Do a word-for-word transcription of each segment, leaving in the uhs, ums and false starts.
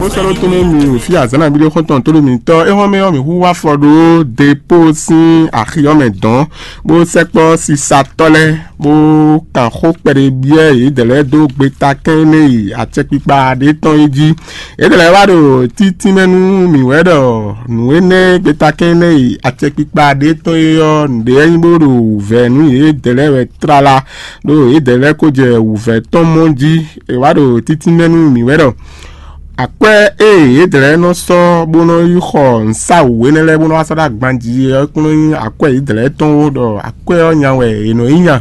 Bó sɔ́ ɖó tɔn mɛ mi wò fí azǎn nabí ɖé xɔ́ntɔn tó ɖo mǐtɔn é hɔn mɛ ɔ́, mǐ hu wá afɔ ɖó depo sín axi ɔ́ mɛ dɔn, bó sɛkpɔ́ sisatɔ́ lɛ́ɛ, bó kan xó kpɛɖé byɔ́ yědɛɛ lɛ́ɛ dó gbeta kɛn énɛ́ e acɛkpikpa ɖé tɔn é jí. Yědɛɛ lɛ́ɛ wá ɖo títínmɛ nú mǐ wɛ ɖɔ nǔ énɛ́ gbeta kɛn énɛ́ e acɛkpikpa ɖé tɔn é ɔ́, nǔɖé wɛ nyí bó ɖo wǔvɛ́ nú yědɛɛ lɛ́ɛ wɛ tlala, ɖó yědɛɛ lɛ́ɛ ko jɛ wǔvɛ́ tɔn mɔ jí. È wá ɖo títínmɛ nú mǐ wɛ ɖɔ akwɛ́ e yědɛɛ lɛ́ɛ nɔ sɔ́ bó nɔ yi xɔ nǔsáwǔ énɛ́ lɛ́ɛ bó nɔ wá sɔ́ ɖó agban jí é ɔ́ kún nɔ nyí akwɛ́ yědɛɛ lɛ́ɛ tɔn ó, ɖɔ akwɛ́ ɔ́ nya wɛ è nɔ yi nya,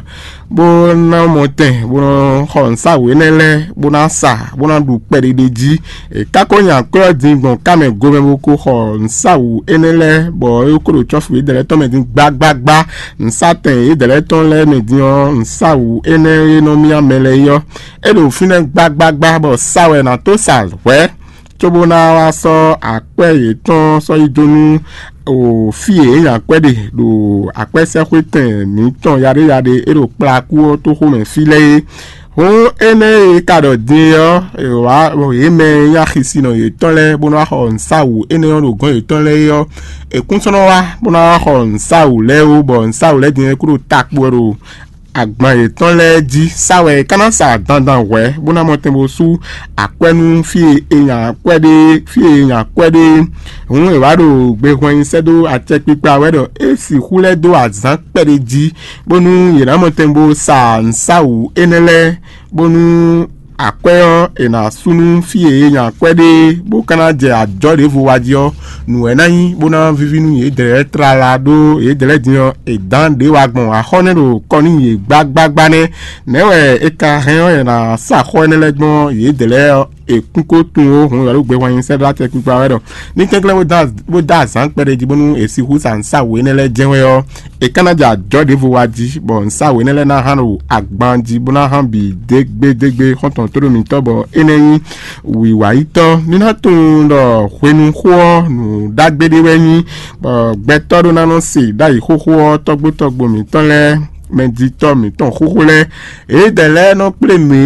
bó ná mɔ tɛn bó nɔ xɔ nǔsáwǔ énɛ́ lɛ́ɛ bó ná sa bó ná ɖu kpɛɖéɖé jí. È ká ko nya akwɛ́ ɔ́ din gbɔn ká mɛ gomɛ bó ko xɔ nǔsáwǔ énɛ́ lɛ́ɛ, bɔ é ko ɖo cɔ́fu yědɛɛ lɛ́ɛ tɔn mɛ din gbágbágbá. Nǔsatɛn yědɛɛ lɛ́ɛ tɔn lɛ́ɛ mɛ din ɔ́, nǔsáwǔ énɛ́ e nɔ myá mɛ lɛ́ɛ é ɔ́, é ɖo fínɛ́ gbágbágbá, bɔ sa wɛ è nǎ tó sa hwɛ̌, cóbó ná wá sɔ́ akwɛ́ yětɔn sɔ́ yi dó nú o fí e é nya akwɛ́ ɖe ɖo akwɛ́sɛ́xwétɛn mǐtɔn yaɖéyaɖé e ɖo kplakú ɔ́ tóxómɛ fí lɛ́ɛ é. Hǔn énɛ́ e ka ɖɔ din é ɔ́, è wǎ yě mɛ e nyí axisinɔ yětɔn lɛ́ɛ bó ná wá xɔ nǔsáwǔ énɛ́ ɔ́ ɖo gɔ̌n yětɔn lɛ́ɛ é ɔ́, è kún sɔ́ nɔ wá bó ná wá xɔ nǔsáwǔ lɛ́ɛ ó, bɔ nǔsáwǔ lɛ́ɛ din é kú ɖo takpo wɛ ɖo agban yětɔn lɛ́ɛ jí. Sa wɛ è ka ná sa dandan hwɛ̌ bó ná mɔ tɛn bó sú akwɛ́ nú fí e è nya akwɛ́ ɖe, fí e è nya akwɛ́ ɖe. Hǔn è wǎ ɖo gbehwɛn nyi sɛ́ dó acɛkpikpa wɛ ɖɔ é sixú lɛ́ dó azǎn kpɛɖé jí, bónú yě ná mɔ tɛn bó sa nǔsáwǔ énɛ́ lɛ́ɛ, bónú akwɛ́ ɔ́, è nǎ sú nú fí e è nya akwɛ́ ɖe, bó ka ná jɛ ajɔ̌ ɖěvo wa jí ɔ́, nǔ wɛ ná nyí bó ná víví nú yědɛɛ tlala ɖó yědɛɛ din ɔ́, è dǎn ɖě wa gbɔn axɔ́ nɛ́ ɖo kɔ nú yě gbágbágbá nɛ́. Nɛ̌ wɛ è ka hɛn ɔ́, è nǎ sa xɔ énɛ́ lɛ́ɛ gbɔn yědɛɛ ɔ́, è kún ko tunwun ó, hǔn wɛ ɖo gbehwan nyi sɛ́ ɖó acɛkpikpa wɛ ɖɔ ní kɛnklɛ́n bó dó azǎn kpɛɖé jí bónú è sixú sa nǔsáwǔ énɛ́ lɛ́ɛ jɛ́n wɛ ɔ́, è ka ná jɛ ajɔ̌ ɖěvo wa jí, bɔ nǔsáwǔ énɛ́ lɛ́ɛ ná hán ɖo agban jí bó ná hán bǐ dégbédégbé xɔ́ntɔn tóɖó mǐtɔn, bɔ énɛ́ nyí wǐwáyítɔ́. Ní ná tunwun ɖɔ hwenu xó ɔ́, nǔ ɖagbe ɖé wɛ nyí, bɔ gbɛtɔ́ ɖó ná nɔ se ɖ'ayǐ xóxó ɔ́, tɔ́gbó tɔ́gbó mǐtɔn lɛ́ɛ, mɛjitɔ́ mǐtɔn xóxó lɛ́ɛ, yědɛɛ lɛ́ɛ nɔ kplé mǐ